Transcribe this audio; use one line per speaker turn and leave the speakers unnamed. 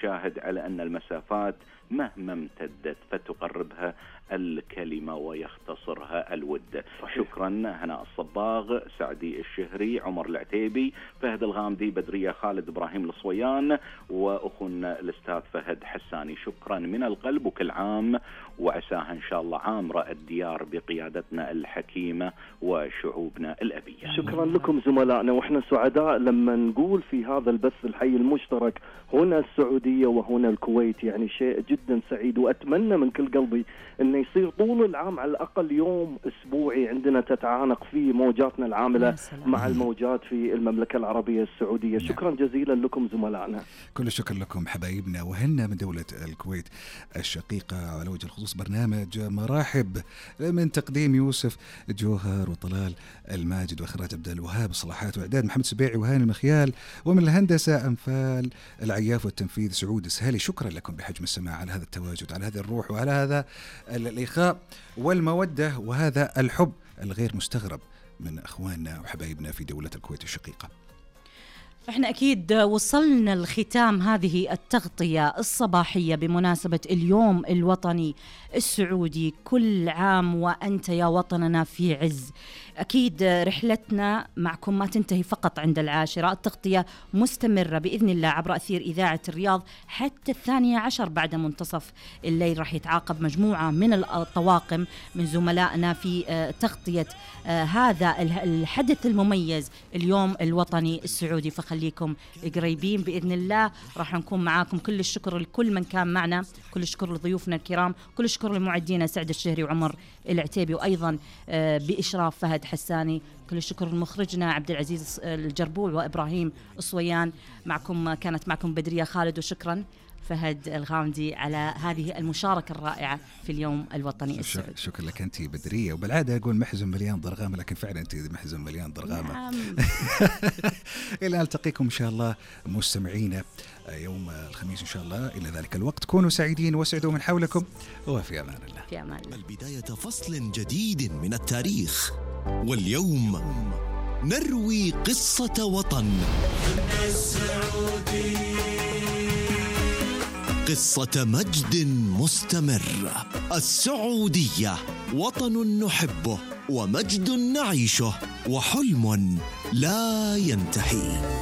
الشاهد على أن المسافات مهما امتدت فتقربها الكلمة ويختصرها الود. شكرا هناء الصباغ، سعدي الشهري، عمر العتيبي، فهد الغامدي، بدرية خالد، إبراهيم الصويان، وأخونا الأستاذ فهد حساني. شكرا من القلب، وكل عام وعساها إن شاء الله عامرة الديار بقيادتنا الحكيمة وشعوبنا الأبية.
شكرا لكم زملائنا، وإحنا سعداء لما نقول في هذا البث الحي المشترك هنا السعودية وهنا الكويت، يعني شيء جدا سعيد. وأتمنى من كل قلبي أنه يصير طول العام على الأقل يوم أسبوعي عندنا تتعانق فيه موجاتنا العاملة مع الموجات في المملكة العربية السعودية. شكرا جزيلا لكم زملائنا.
كل الشكر لكم حبايبنا وهنا من دولة الكويت الشقيقة. على وجه الخصوص برنامج مراحب من تقديم يوسف جوهر وطلال الماجد وإخراج عبد الوهاب الصلاحات وإعداد محمد سبيعي وهاني المخيال، ومن الهندسة أنفال العياف والتنفيذ سعود السهالي. شكرا لكم بحجم السماع على هذا التواجد، على هذه الروح وعلى هذا الإخاء والمودة وهذا الحب الغير مستغرب من أخواننا وحبايبنا في دولة الكويت الشقيقة.
احنا اكيد وصلنا الختام هذه التغطية الصباحية بمناسبة اليوم الوطني السعودي. كل عام وأنت يا وطننا في عز. أكيد رحلتنا معكم ما تنتهي فقط عند 10، التغطية مستمرة بإذن الله عبر أثير إذاعة الرياض حتى 12 بعد منتصف الليل. راح يتعاقب مجموعة من الطواقم من زملائنا في تغطية هذا الحدث المميز اليوم الوطني السعودي، فخليكم قريبين بإذن الله. راح نكون معاكم. كل الشكر لكل من كان معنا، كل الشكر لضيوفنا الكرام، كل الشكر لمعدينا سعد الشهري وعمر العتيبي، وأيضا بإشراف فهد حساني. كل الشكر لمخرجنا عبد العزيز الجربوع وإبراهيم الصويان. كانت معكم بدرية خالد، وشكرا فهد الغامدي على هذه المشاركة الرائعة في اليوم الوطني السعودي.
شكرا لك أنت بدرية. وبالعادة أقول محزن مليان ضرغامة، لكن فعلا أنت محزن مليان ضرغامة.
نعم.
إلى نلتقيكم إن شاء الله مستمعينا يوم الخميس إن شاء الله. إلى ذلك الوقت كونوا سعيدين واسعدوا من حولكم، وفي أمان الله.
في أمان الله.
البداية فصل جديد من التاريخ، واليوم نروي قصة وطن، قصة مجد مستمر. السعودية وطن نحبه ومجد نعيشه وحلم لا ينتهي.